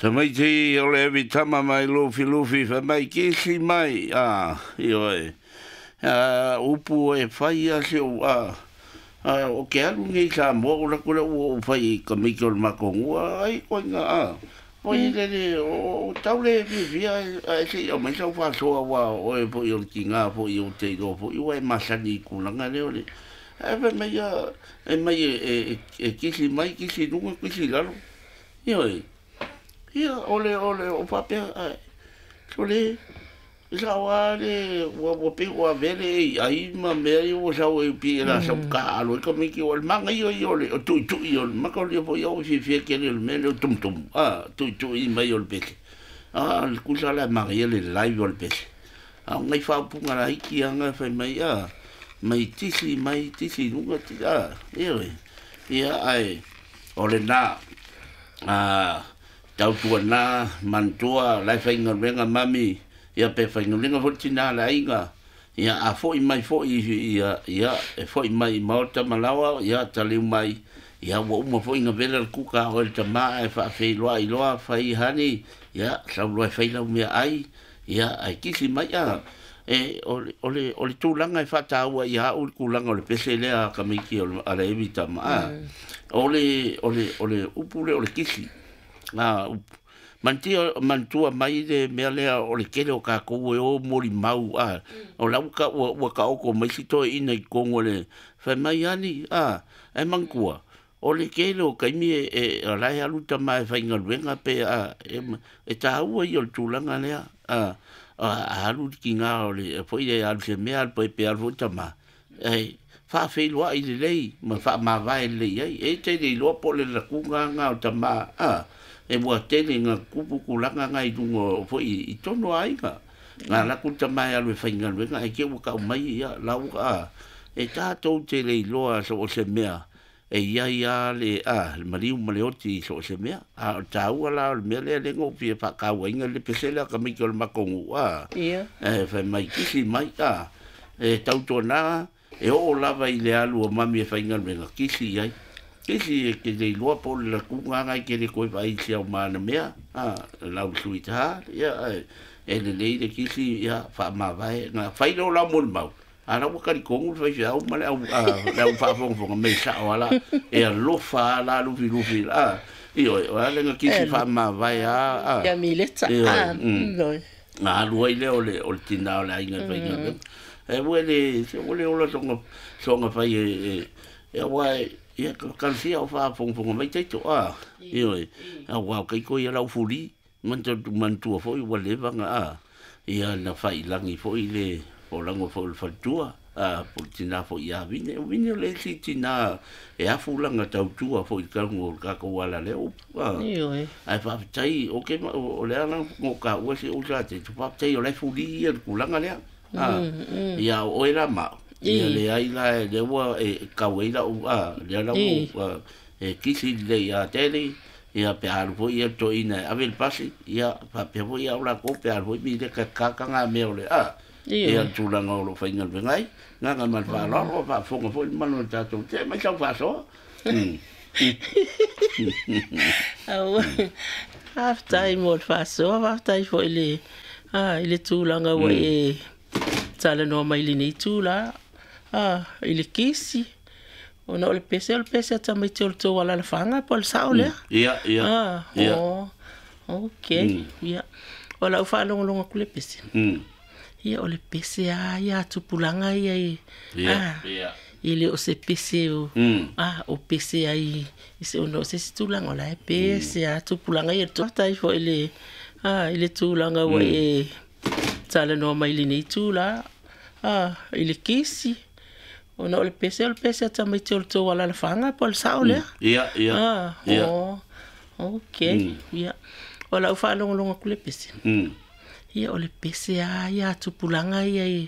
Tamaiti o le evi tama mai Lufi Lufi fai mai kisi mai a ioe a upu e fai a se o a o ke alu nei Samoa o la kule ua ou fai i ka miki o le makonua ai koinga a foi lele o tau le fiafia ae se i aumai sau faasoa aua o oe foi o le tiga foi ou te iloa foi ua e masani i tulaga lea o le ae fai mai ia e mai e kisi mai kisi i luga kisi i lalo ioe. Ia, o le, o le, o faapea, ae, sole, e sao lava le, ua, ua pei ua avea le AI ma mea ia ua sau ai pei e la sau taaalo ai tamaiti, o le manaia ia o le tuitui o le maka o le foi au e fiafia tele o le mea lea o le tumutumu, a, tuitui mai o le pese. A, o le tusa la e manaia le live o le pese. A o nai faaupuga laiti lava na fai mai, a, mai tisi mai, tisi i luga, tisi, a, ioe. Ia, ae, o lena, a, tautuana, manatua, la e faigaluega mami, ia pe faigaluega foi le tina a le aiga, ia a foi mai foi ia, ia e foi mai i maota ma laoa, ia taliu mai, ia ua uma foi ona vela le kuka a oe le tama ae faafeiloai loa, fai honey, ia sau loa e fai lau meaai, ia ae kisi mai a. E, o le, o le, o le tulaga e faataua ia au le tulaga o le pese lea a tamaiti o le, a le evi tama, a. O le, o le, o le upu lea o le kisi, a, upu. Manatia, manatua mai le mea lea o le tele o tatou e o molimau, a, o la ua, ua, ua taoto mai si toeaina i totonu o le, fai mai ani, a, ae manatua, o le tele o taimi e, e, o la e alu tama e faigaluega pe a, e, e taua ia o le tulaga lea, a, a alu le tiga o le, foi le alu se mea, alu pe alu foi tama, e faafeiloai lelei ma faamavae lelei ai. E te le iloa po o le latuga lena o tama, a, e ua tele ina tupu tulaga na i luga o foi i tonu o aiga. Na alu atu le tama e alu e faigaluega, ae te i ua tau mai ia lau, a, e tatou te le iloa so o se mea, e i ai lava le, a, le maliu ma le oti i so o se mea. A o le taua la o le mea lea, lea na ou fia faatauaina le pese lea a tamaiti o le matou nuu, a, e fai mai kisi mai, a, e tautuana, e oo lava i le alu o mami e faigaluega, kisi i ai. Kisi e te le iloa po o le latuga lena e te le toe vaai i si au mana mea, a, lau sweetheart, ia, e lelei le kisi, ia, faamavae, na fai lea o lau molimau. A la ua talitonu le faifeau ma le au, le au faafogafoga mea sao lava la, e alofa lava la Lufilufi, a, ioe, o le a le na kisi faamavae lava, a. Ia Mileta, a, ioe. Na alu ai lea o le, o le tina o le aiga e faigaluega. E ua le, se ua le ola soga, soga fai e, e, aua e, ia, kalasia o faafogafoga mai taito, a, ioe, aua o taito ia lau fuli, manatua foi ua leva na, a, ia na failagi foi le polago foi o le faletua, a, po o le tina foi ia Vine. O Vine o le isi tina e afu lana tautua foi i totonu o le tatou ala lea upu, a. Ioe. Ae faafetai, o ke, o le ala na taua si ou sa te, faafetai o la e fuli ia le tulaga lea. A, ia o oe la ma au. Ia leai la, lea ua e kau ai lau, a, lea la ua e kisi lelei ia Tele, ia pe alu foi ia le toeaina e ave le pasi, ia faapea foi au latou pe alu foi Mileka e kaka ngā mea o le, a, ia le tulaga o lo o faigaluega ai. Gaga ma le faaaloalo, faafofoga foi le mamalu o le tatou, te mai sau faasoa. Aua, faafetai mo le faasoa, faafetai foi i le, a, i le tulaga ua e talanoa mai i lenei itula, a, i le kisi. Ona o le pese, o le pese a tamaiti o le tou alalafaga po o le sao lea? Ia, ia. A, o, okay. Ia. O lau faalogologo atu le pese. Ia, o le pese lava ia a tupulaga ia i, a, e le o se pese o, a, o pese ai i se, ona o se isi tulaga o la e pese lava tupulaga ia. Faafetai foi i le, a, i le tulaga ua e talanoa mai i lenei itula, a, i le kisi. Ona o le pese, o le pese a tamaiti o le tou alalafaga po o le sao lea? Ia, ia. A, o, okay. Ia. O lau faalogologo atu le pese. Ia, o le pese lava ia a tupulaga ia i,